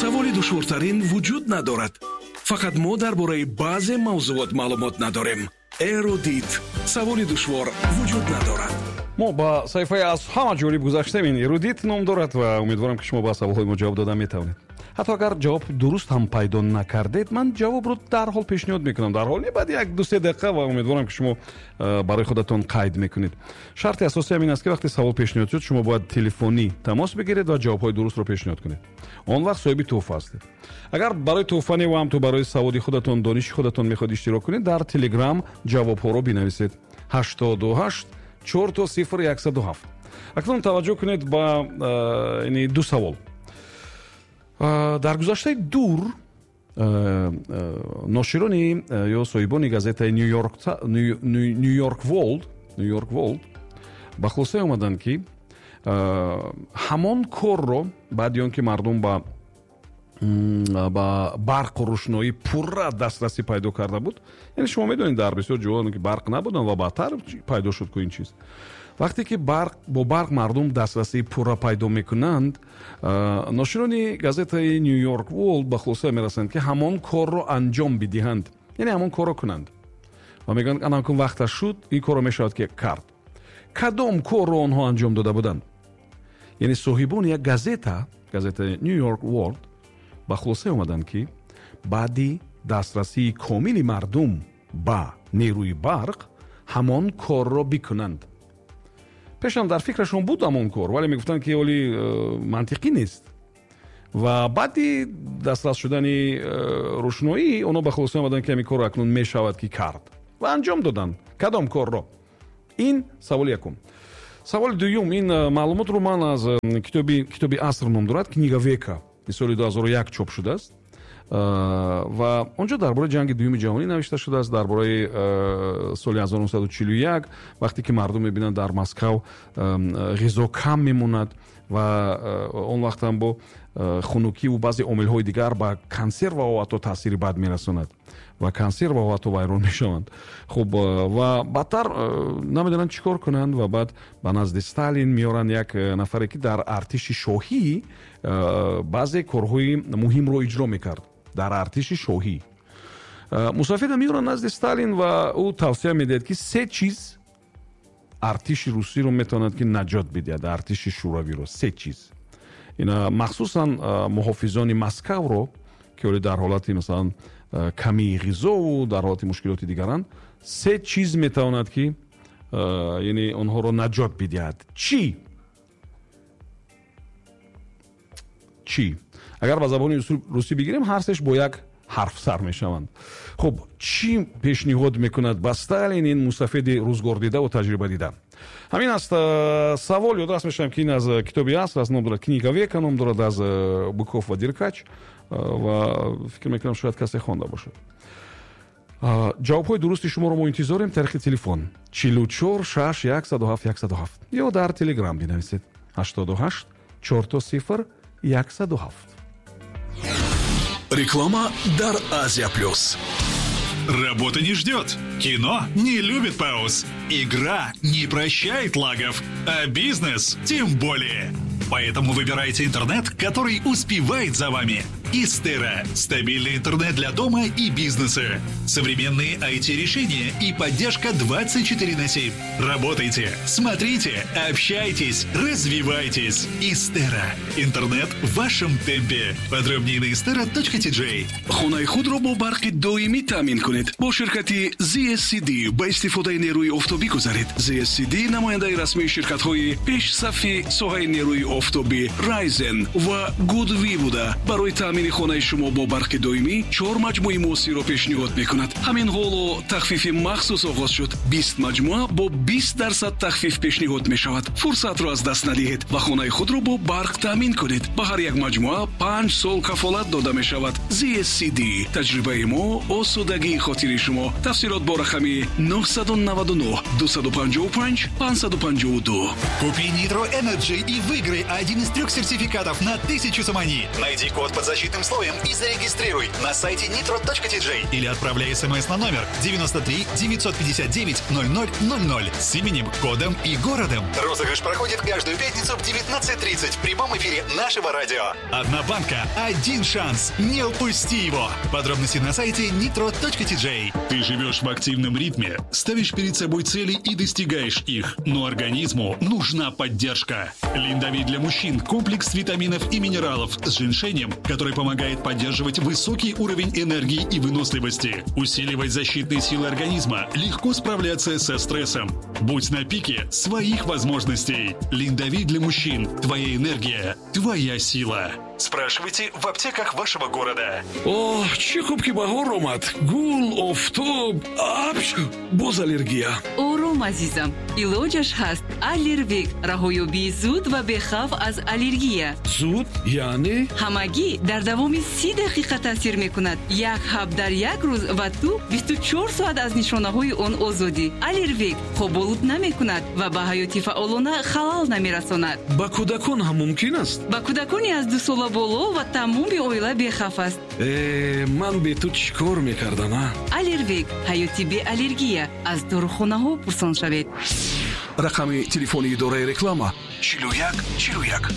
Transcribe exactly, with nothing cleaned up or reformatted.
Саволи душвортарин вуҷуд надорад. Фақат мо дар бораи баъзе мавзуот маълумот надорем. Эрудит. Саволи душвор вуҷуд надорад. Мо ба саҳифаи аз ҳама ҷолиб гузаштем. Ин Эрудит ном дорад ва умедворам, ки шумо ба саволҳои мо ҷавоб дода метавонед. Ҳатто агар ҷавоб дуруст ҳам пайдо накардед, ман ҷавобро дарҳол пешниҳод мекунам. Дарҳол не, баъди як ду се дақиқа, ва умедворам, ки шумо э, барои худатон қайд мекунед. Шарти асосӣ ҳам ин аст, ки вақте савол пешниҳод шуд, шумо бояд телефонӣ тамос бигиред ва ҷавобҳои дурустро пешниҳод кунед. Он вақт соҳиби тӯҳфа ҳастед. Агар барои тӯҳфа не, ва ҳамту барои саводи худатон, дониши худатон мехоҳед иштирок кунед, дар Телеграм ҷавобҳоро бинависед: ҳаштоду ҳашт чор то сифр яксаду ҳафт. Акнун таваҷҷӯҳ кунед ба э, ду савол. Дар гузаштаи дур ноширони ё соҳибони газетаи Нью-Йорк Ворлд Нью-Йорк Ворлд ба хулосае омаданд, ки ҳамон корро баъди он ки мардум ба ба барқу рӯшноӣ пурра дастрасӣ пайдо карда буд, яъне шумо медонед, дар бисёр ҷоҳо ки барқ набуданд ва баъдтар пайдо шуд ку ин чиз, вақте ки барқ бо барқ мардум дастрасии пурра пайдо мекунанд, ноширони газетаи Нью-Йорк Ворлд ба хулоса мерасанд, ки ҳамон корро анҷом бидиҳанд, яъне ҳамон корро кунанд, ва мегӯянд, анакун вақташ шуд, ин корро мешавад ки кард. Кадом корро онҳо анҷом дода буданд? Яъне соҳибони як газета, газетаи Нью-Йорк Ворлд, ба хулоса омаданд, ки баъди дастрасии комили мардум ба нерӯи барқ ҳамон корро бикунанд. Пешам дар фикрашон буд ҳамон кор, вале мегуфтанд, ки оли э, мантиқӣ нест, ва баъди дастрас шудани э, рӯшноӣ онҳо ба хулоса омаданд, ки ҳамин корро акнун мешавад ки кард, ва анҷом доданд. Кадом корро? Ин саволи якум. Саволи дуюм. Ин э, маълумотро ман аз китоби китоби аср ном дорад, «Книга века», соли ду ҳазору як чоп шудааст, ва он ҷо дар бораи Ҷанги Дуюми Ҷаҳонӣ навишта шудааст, дар бораи соли ҳазору нӯҳсаду чилу як, вақте ки мардум мебинанд, дар Москав ғизо кам мемонад ва он вақт ҳам бо хунукиву баъзе омилҳои дигар ба консерваҳо ҳатто таъсири бад мерасонад ва консерваҳо ҳатто вайрон мешаванд. Хуб, ва баъдтар намедонанд чӣ кор кунанд ва баъд ба назди Сталин меоранд як нафаре, ки дар артиши шоҳӣ баъзе корҳои муҳимро иҷро мекард. Дар артиши шоҳӣ мусофира меоранд назди Сталин ва ӯ тавсия медиҳад, ки се чиз артиши русиро метавонад ки наҷот бидиҳад, артиши шӯравиро. Се чиз ина, махсусан муҳофизони Москавро, ки ҳоле дар ҳолати, масалан, камии ғизову дар ҳолати мушкилоти дигаранд, се чиз метавонад ки, яъне, онҳоро наҷот бидиҳад. Чӣ? Чӣ? Агар ба забони русӣ бигирем, ҳар сеш бо як ҳарф сар мешаванд. Хуб, чӣ пешниҳод мекунад ба Сталин ин мусафеди рӯзгордидаву таҷрибадида? Ҳамин аст савол. Ёдрас мешавам, ки ин аз китоби аср аст, ном дорад «Книга века», ном дорад, аз Быков ва Деркач, ва фикр мекунам, шояд касе хонда бошад. Ҷавобҳои дурусти шуморо мо интизорем тариқи телефон чилу чор шаш яксаду ҳафт яксаду ҳафт ё дар Телеграм бинависед: ҳаштоду ҳашт чор то сифр яксаду ҳафт. Реклама дар Азия Плюс. Работа не ждет. Кино не любит пауз. Игра не прощает лагов. А бизнес тем более. Поэтому выбирайте интернет, который успевает за вами. Истера – стабильный интернет для дома и бизнеса. Современные I T-решения и поддержка двадцать четыре на семь. Работайте, смотрите, общайтесь, развивайтесь. Истера. Интернет в вашем темпе. Подробнее на istera точка T J. Хонаи худро бо барқи доимӣ таъмин кунед. Бо ширкати Z S C D ба истифодаи нерӯи офтобӣ гузаред. Z S C D намояндаи расмии ширкатҳои пешсафи соҳаи нерӯи офтобӣ Райзен ва Гудви буда, барои таъмини хонаи шумо бо барқи доимӣ чор маҷмӯи муосирро пешниҳод мекунад. Ҳамин ҳоло тахфифи махсус оғоз шуд: бист маҷмӯа бо бист дарсад тахфиф пешниҳод мешавад. Фурсатро аз даст надиҳед ва хонаи худро бо барқ таъмин кунед. Ба ҳар як маҷмӯа панҷ сол кафолат дода мешавад. Z S C D: таҷрибаи мо, осудагии хотири шумо. Тафсилот бо рақами нӯҳсаду наваду нӯҳ дусаду панҷоҳу панҷ панҷсаду панҷоҳу ду. Купи Nitro Energy и выиграй один из трех сертификатов на тысячу сомони. Найди код под защитой. защитным слоем и зарегистрируй на сайте nitro точка ти джей или отправляй смс на номер девяносто три девятьсот пятьдесят девять ноль ноль ноль ноль с именем, кодом и городом. Розыгрыш проходит каждую пятницу в девятнадцать тридцать в прямом эфире нашего радио. Одна банка, один шанс. Не упусти его. Подробности на сайте nitro точка ти джей. Ты живешь в активном ритме, ставишь перед собой цели и достигаешь их. Но организму нужна поддержка. Линдовит для мужчин – комплекс витаминов и минералов с женьшенем, который помогает поддерживать высокий уровень энергии и выносливости, усиливать защитные силы организма, легко справляться со стрессом. Будь на пике своих возможностей. Линдовит для мужчин. Твоя энергия, твоя сила. Спрашивайте в аптеках вашего города. О, чӣ хуб ки баҳор омад. Гул, офтоб, апч, боз аллергия. Ором, азизам. Илоҷаш ҳаст. Аллервек. Раҳоёбии зуд ва бехавф аз аллергия. Зуд? Яъне? Ҳамагӣ дар давоми си дақиқа таъсир мекунад. Як ҳаб дар як рӯз ва ту бисту чор соат аз нишонаҳои он озодӣ. Аллервек хоболуд намекунад ва ба ҳаёти фаъолона халал намерасонад. Ба кӯдакон ҳам мумкин аст? Ба кӯдакони аз ду сола боло ва тамоми оила бехавф аст. Э, ман бе ту чӣ кор мекардам, а? Аллервек. Ҳаёти беаллергия. Аз дорухонаҳо пурсон шавед. Рақами телефони идораи реклама чилу як чилу як.